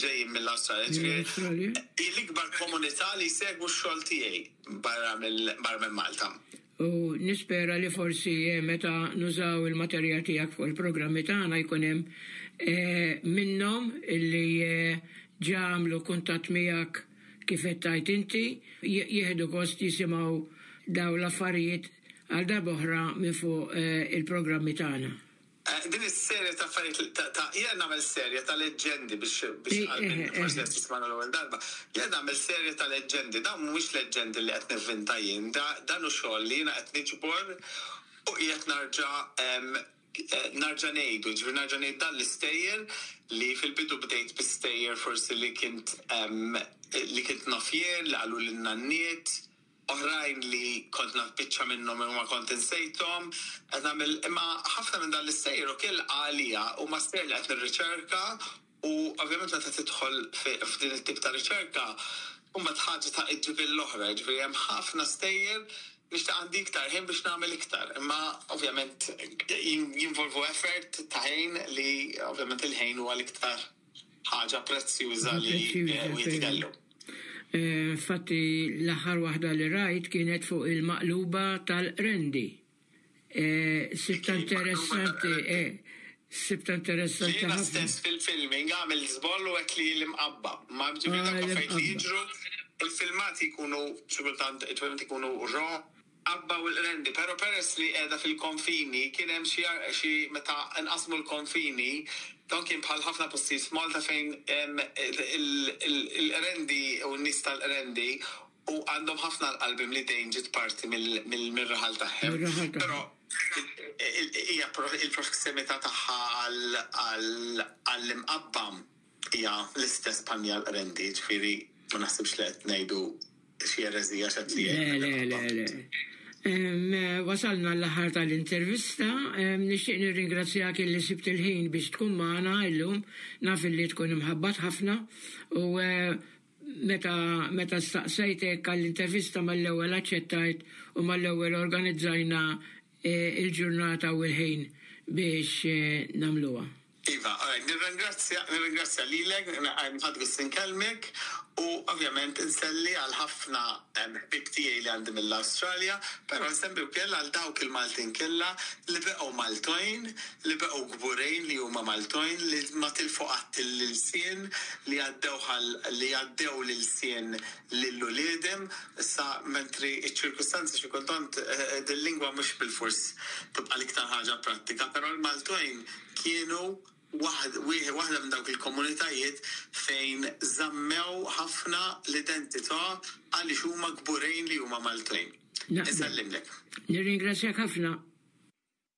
Ġejjin mill-Awstralja, jiġifieri hi l-ikbar komunità li jsegwu x-xogħol tiegħi barra minn Malta. U nispera li forsi meta nużaw il-materjal tiegħek fuq il-programmi tagħna jkun hemm minnhom illi ġa għamlu kuntatt miegħek kif qed tgħid inti, jieħdu gost jisimgħu dawn l-affarijiet għal darb'oħra minn fuq il-programmi tagħna. Din is-serje ta' affarijiet ta' jiena nagħmel serje ta' leġġendi biex biex għal min forsi qed jismagħna l-ewwel darba. Jiena nagħmel serje ta' leġġendi, dawn mhumiex leġġendi li qed nivvinta jien, dan hu xogħol li jiena qed niġbor u qiegħed narġa' narġa' ngħidu, jiġifieri narġa' ngħid dan l-istejjer li fil-bidu bdejt bi stejjer forsi li kint li kint naf jien, li qaluli n-nanniet. Oħrajn li kont naf biċċa minnhom imma kont insejthom. Qed nagħmel imma ħafna minn dan l-istejjer ukoll għalija huma stejjer li qed nirriċerka u ovvjament meta tidħol f'din it-tip ta' riċerka mbagħad ħaġa ta' iġġib lill-oħra, jiġifieri hemm ħafna stejjer nixtieq għandi iktar ħin biex nagħmel iktar imma ovvjament jinvolvu effort ta' ħin li ovvjament il-ħin huwa l-iktar ħaġa prezzjuża li wieħed ikellu. Infatti l-aħħar waħda li rajt kienet fuq il-maqluba tal-qrendi. Sibtha interessanti, sibtha interessanti ħafna. Jiena stess fil-filming għamilt żball u għedt li hi l-imqabba. Ma ġifieri dawk l-affarijiet li jiġru, il-filmati jkunu xi kultant ikunu raw. Abba u l-Qrendi, però peress li qiegħda fil-konfini kien hemm xi xi meta nqasmu l-konfini dan kien bħal ħafna postijiet f'Malta fejn il-Qrendi u n-nies tal-Qrendi u għandhom ħafna għal qalbhom li dejn ġiet parti mir-raħal tagħhem. Però hija il-prossimità tagħha għall-Imqabba hija l-istess bħal mija l-Qrendi, jiġifieri ma naħsibx li qed ngħidu xi ereżija x'qed li Le, le, le, le. Wasalna l-aħħar tal-intervista. Nixtieq nirringrazzjak illi sibt il-ħin biex tkun magħna illum. Naf illi tkun imħabbat ħafna u meta meta staqsejtek għall-intervista mal-ewwel aċċettajt u mal-ewwel organizzajna il-ġurnata u l-ħin biex nagħmluha. Iva, alright, nirringrazzja, nirringrazzja lilek, ħadt gost inkellmek u ovvjament inselli għal ħafna ħbieb tiegħi li għandi mill-Awstralja, però nsemmi wkoll għal dawk il-Maltin kollha li beqgħu Maltojn, li beqgħu kburin li huma Maltojn, li ma tilfu qatt l-ilsien, li għaddewh għal, li għaddew l-ilsien lil uliedhom, issa mentri ċ-ċirkustanzi xi kultant dil-lingwa mhux bilfors tibqa' l-iktar ħaġa prattika, però l-Maltojn kienu waħda minn dawk il-komunitajiet fejn żammew ħafna l-identità għaliex huma kburin li huma Maltin. Insellimlek. Nirringrazzjak ħafna.